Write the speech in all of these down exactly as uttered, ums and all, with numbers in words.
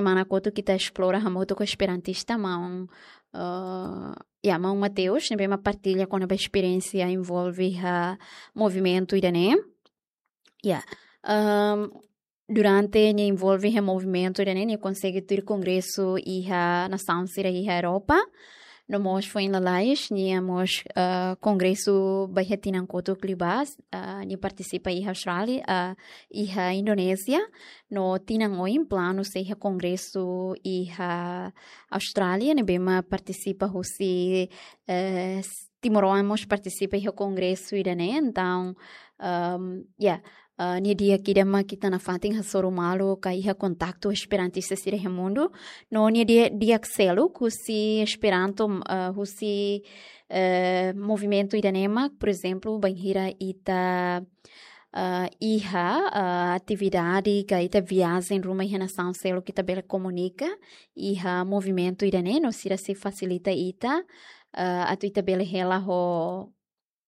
Semana kotuk ita esplora hamutuk ho esperantista maun, eh, ya, maun Mateus, ne'ebé mak partilla kona-ba esperiénsia envolve iha movimentu ida-ne'e. Ya, ehm, durante nia envolve iha movimentu ida-ne'e, nia konsege tuir kongresu iha nasaun sira iha Europa. No mós foin lalais, nia mós, eh, kongresu ba iha tinan kotuk liubá, eh, nia partisipa iha Austrália, eh, iha Indonézia. No tinan oin planu sei iha kongresu iha Austrália, ne'ebé mak partisipa husi, eh, s-, timoroan mós partisipa iha kongresu ida-ne'e. Entaun, ehm, ya, eh, nia di'ak ida mak ita nafatin hasoru malu ka iha kontaktu esperantista sira iha mundu. No nia di'ak, di'ak seluk husi Esperanto, eh, husi, eh, movimentu ida-ne'e mak, por ezemplu, bainhira ita, eh, iha, eh, atividade ka ita viajen ruma iha nasaun seluk, ita bele komunika iha movimentu ida-ne'e, no sira sei fasilita ita, eh, atu ita bele hela ho,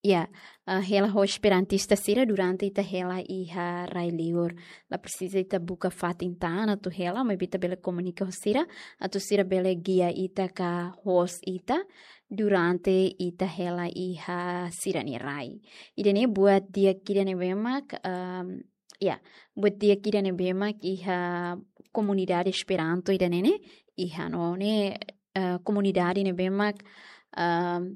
ya, eh, hela ho esperantista sira durante ita hela iha rai liur. La presiza ita buka fatin tan atu hela, maibé ita bele komunika ho sira, atu sira bele gia ita ka host ita durante ita hela iha sira-nia rai. Ida-ne'e buat di'ak ida ne'ebé mak, ehm, ya, buat di'ak ida ne'ebé mak iha komunidade Esperanto ida-ne'e ne'e, iha no ne'e, eh, komunidade ne'ebé mak, ehm,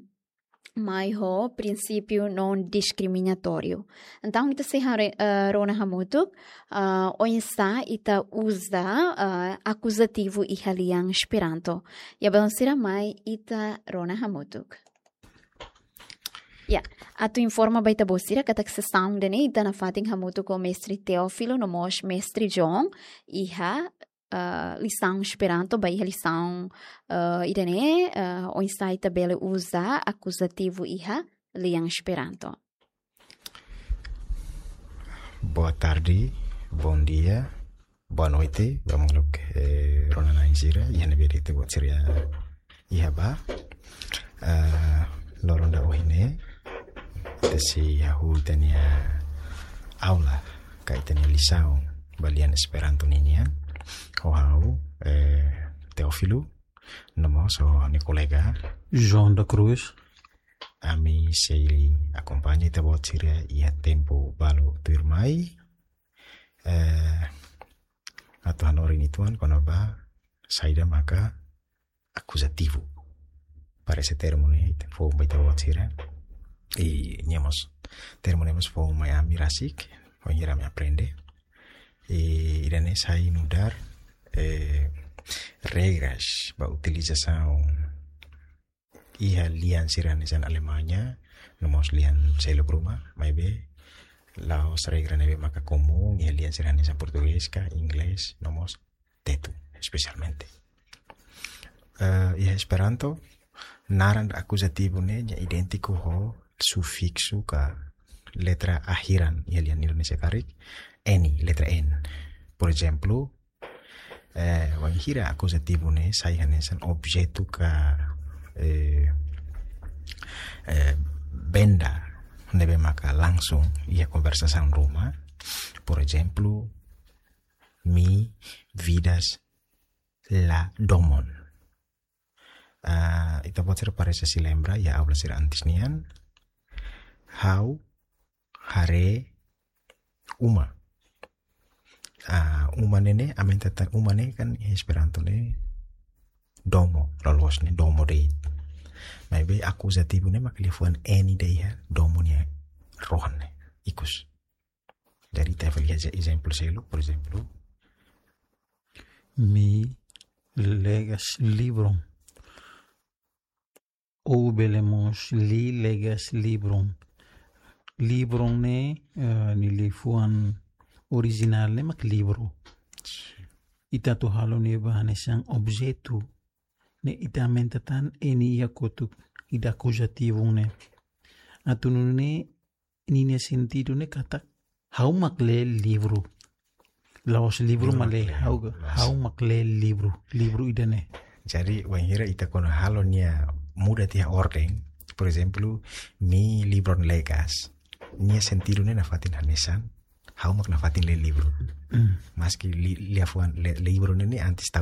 mai ho prinsípiu non diskriminatóriu. Entaun, ita sei hare-, eh, rona hamutuk, eh, oinsá ita uza, eh, akuzativu iha lian Esperanto. Ya, balun sira, mai ita rona hamutuk. Ya, atu informa ba ita-boot sira katak sesaun ida-ne'e ita nafatin hamutuk ho Mestre Teófilo no mós Mestre John iha, eh, lisaun Esperanto, ba iha lisaun, eh, ida-ne'e, eh, oinsá ita bele uza akuzativu iha lian Esperanto. Boa tarde, bom dia, boa noite, ba maluk, eh, rona-na'in sira, iha ne'ebé de'it boot sira iha ba. Eh, loron ida ohin ne'e, ita sei hahú ita-nia aula, ka ita-nia lisaun, ba lian Esperanto ninian, ho ha'u, eh, Teófilo, no mós ho ha'u-nia kolega João da Cruz. Ami sei akompaña ita-boot sira iha tempu balu tuirmai. Eh, atu hanorin uitoan kona-ba saida maka akuzativu. Parese termu ne'e foun ba ita-boot sira. I nia mós termu ne'e mós foun mai ami rasik, bainhira ami aprende. I ida-ne'e sai nu'udar, eh, regras ba utilizasaun iha lian sira hanesan Alemanha, no mós lian seluk ruma, maibé la'ós regra ne'ebé maka komún iha lian sira hanesan Portugés ka Inglés, no mós Tetun, espesialmente. Eh, iha Esperanto, naran akuzativu ne'e nia idéntiku ho sufiksu ka letra akhiran iha lian Indonézia karik, N, letra N. Por ezemplu, eh, bainhira akuzativu ne'e sai hanesan objetu ka, eh, eh, benda ne'ebé maka langsung iha konversasaun ruma. Por ezemplu, mi vidas la domon. Ah, ita-boot sira parese sei lembra iha aula sira antes nian. Ha'u haree uma. Ah, uma ne'e ne'e, aumenta tan uma ne'e kan iha Esperanto ne'e domo, loloos ne'e domo de'it. Maibé akuzativu ne'e mak liafuan N ida iha domo nia rohan ne'e, ikus. Jadi, ita fali iha ezemplu seluk, por ezemplu. Mi legas livron. Ou bele mós li legas livron. Livron ne'e, eh, nia liafuan orijinál ne'e mak livru. Ita atu halo ne'e ba hanesan objetu. Ne'e ita aumenta tan N iha kotuk ida akuzativu ne'e. Atu nune'e ninia sentidu ne'e katak ha'u mak lee livru. La'ós livru mak lee ha'u, ha'u mak lee livru, livru ida-ne'e. Jadi, wainhira ita kona halo nia muda tiha orden. Por ezemplu, mi livron legas. Nia sentidu ne'e nafatin hanesan ha'u mak nafatin lee livru. Mm. Maski li-, liafuan le-, livru ne'e ne'e antes tau